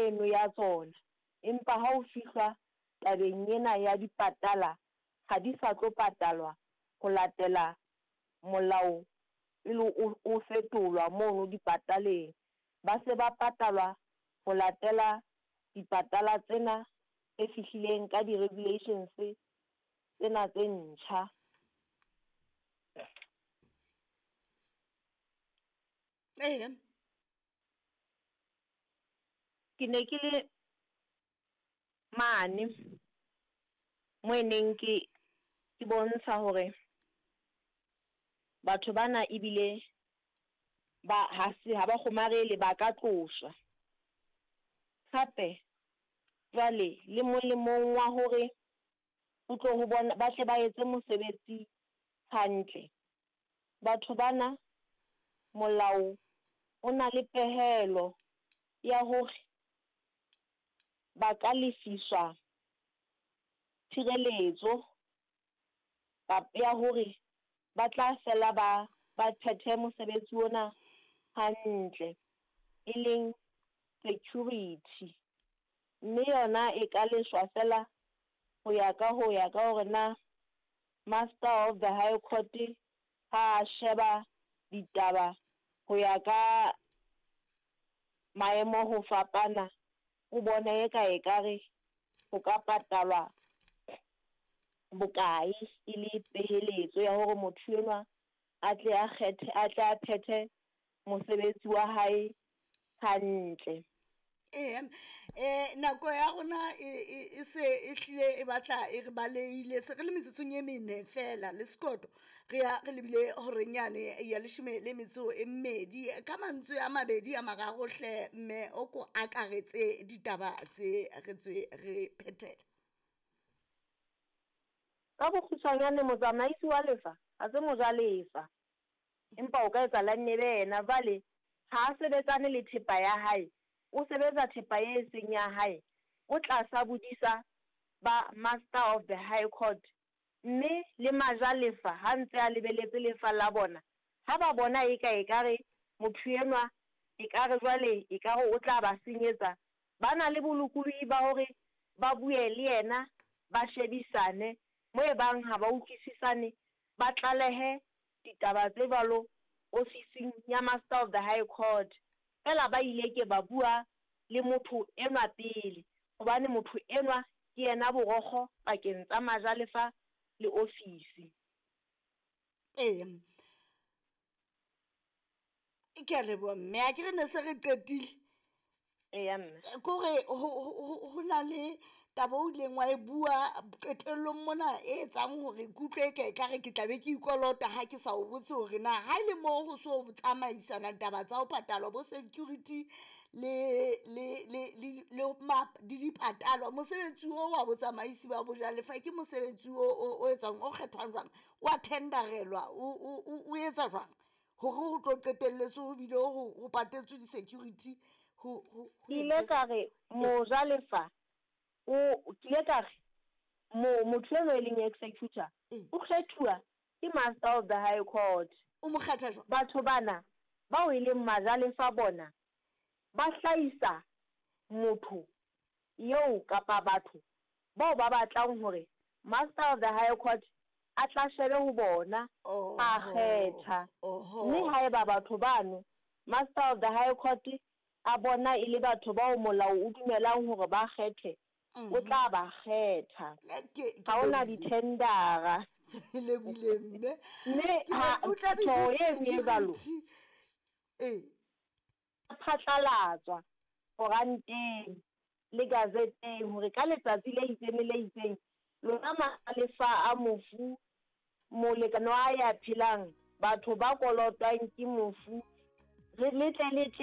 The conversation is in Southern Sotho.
eno ya tsona, empa ha ho fihlwa tabeng ena ya dipatala ha di sa tlo patalwa ho latela molao pele o fetolwa mono dipataleng. Ba se ba patalwa ho latela dipatala tsena tse fihlileng ka di-regulations tsena tse ntjha. Ee. Ke ne ke le mane mo e neng ke ke bontsha hore batho bana ebile ba ha se ha ba kgomarele ba ka tloswa. Hape jwale le molemong wa hore ho tlo ho bona ba tle ba etse mosebetsi hantle. Batho bana molao o na le pehelo ya hore ba ka lefiswa tshireletso ya hore ba tla fela ba ba phethe mosebetsi ona hantle, e leng security. Mme yona e ka leshwa feela ho ya ka ho ya ka hore na Master of the High Court ha a sheba ditaba ho ya ka maemo ho fapana, o bona eka ekare ho ka patalwa bokae e le peheletso ya hore motho enwa a tle a kgethe, a tle a phethe mosebetsi wa hae hantle. Ee, nako ya rona e se e hlile e batla e re balehile, se re le metsotsong e mene fela le sekoto, re ya re lebile horeng yane ya leshome le metso e mmedi. Ka mantswe a mabedi a mararo hle mme o ko akaretse ditaba tse re tswe re phethele. Ka bokgutshwanyane, motsamaisi wa lefa ha se mojalefa, empa o ka etsa la nne be yena. Jwale ha a sebetsane le thepa ya hae, o sebetsa thepa e seng ya hae, o tlasa bodisa ba Master of the High Court, mme le majalefa ha ntse a lebeletse lefa la bona, ha ba bona eka ekare motho enwa ekare jwale ekare o tla ba senyetsa, ba na le bolokolohi ba hore ba bue le yena, ba shebisane, mo e bang ha ba utlwisisane, ba tlalehe ditaba tse jwalo ofising ya Master of the High Court. Feela ba ile ke ba bua le motho enwa pele, hobane motho enwa ke yena borokgo pakeng tsa majalefa le ofisi. Ee, ke a leboha mme, a ke re ne se re qetile. Eya mme. Kore ho na le taba o ileng wa e bua qetellong mona e etsang hore ke utlwe eka ekare ke tla be ke ikolota ha ke sa o botse hore na ha e le mo ho so tsamaisana taba tsa ho patalwa bo security le le le le le le dipatalwa, mosebetsi o wa botsamaisi ba bojalefa ke mosebetsi o etswang, o kgethwang jwang, wa tenderelwa, o etsa jwang hore ho tlo qetelletse ho bile ho patetswe di-security ho Ke ile ka re mojalefa o, ke ile ka re motho eno e leng executor o kgethuwa ke Master of the High Court. O mo kgetha jwang? Batho bana bao e leng majalefa bona ba hlahisa motho eo kapa batho bao ba batlang hore Master of the High Court a tla shebe ho bona a kgetha. Mme haeba batho bano Master of the High Court a bona e le batho bao molao o dumelang hore ba kgethwe, o tla ba kgetha. Ha ho na dithendara. Ke lebohile mme. Mme ha tjho e nngwe e jwalo. Ee. Phatlalatswa koranteng le gazeteng hore ka letsatsi le itseng le le itseng lona majalefa a mofu, molekane wa ya phelang, batho ba kolotwang ke mofu, le tle le tle.